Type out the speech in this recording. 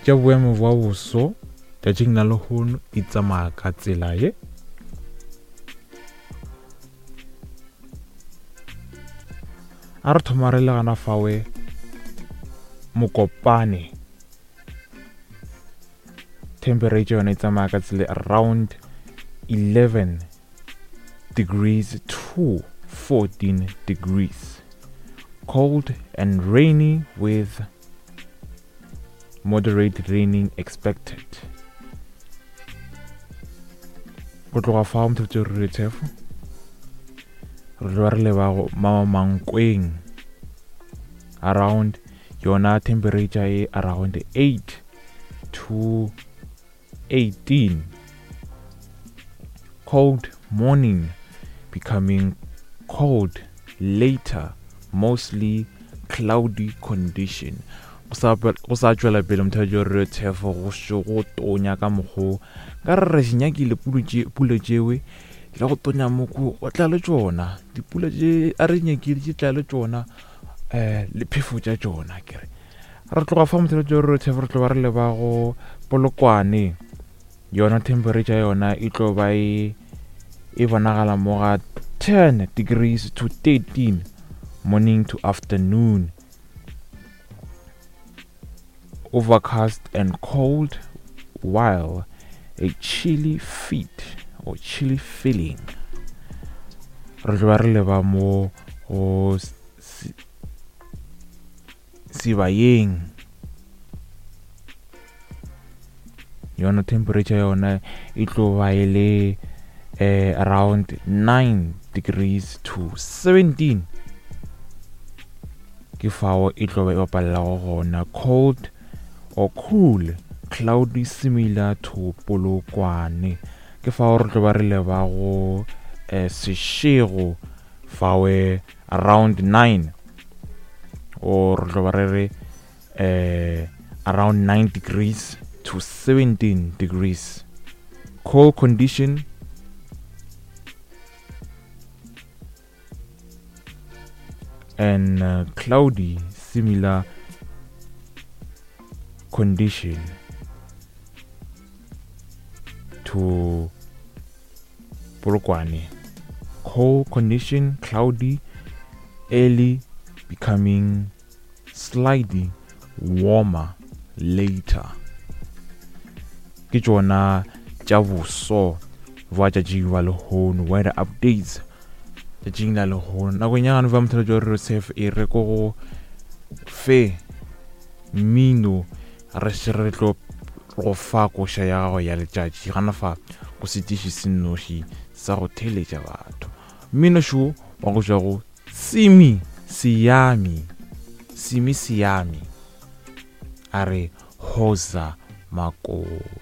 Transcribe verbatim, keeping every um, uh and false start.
Tša boemo bja boso tšatšing la lehono di tsamaya ka tsela ye. A re thoma re le gana fawe Mokopane, temperature yona e tsamaya ka tsela around eleven degrees to fourteen degrees, cold and rainy with moderate raining expected. Go tloga fao motho re thefo re tloga re leba go Mankweng, around yona temperature e around eight to eighteen, cold morning becoming cold later, mostly cloudy condition. Go sa tšwela pele motho re thefo go šo go tonya ka mokgo ka re re nyakile pula tšewe le go tonya moko go tla le tšona dipula tše a re nyakile tše tla le tšona eh le phefo tša tšona. Ke re re tloga fa motho re thefo re tloga re leba go Polokwane, yona temperature yona e tlo ba e e bonagala mo ga ten degrees to thirteen morning to afternoon, overcast and cold while a chilly feet or chilly feeling. Re tloga re leba mo go Sibayeng, yona temperature yona e tlo ba e le eh, around nine degrees to seventeen, ke fao e tlo ba e bapalelago gona. Cold or cool, cloudy similar to Polokwane, ke fao re tlo ba re leba go eh, Seshego fawe around nine or re tlo ba re re eh, around nine degrees to seventeen degrees, cold condition and uh, cloudy similar condition to Polokwane. Cold condition, cloudy, early becoming slightly warmer later. Ke tšona tša boso bja tšatši ba lehono, weather updates tšatšing la lehono. Nakong ya gane ba motho jo re safe e re ko go fe mmino re se re tlo go fa koša ya gago ya letšatši gana fa go setiši se nnoši sa go theletša batho. Mmino šo wa go tšwa go Simi Siami, Simi Siami a re Hoza Makoti.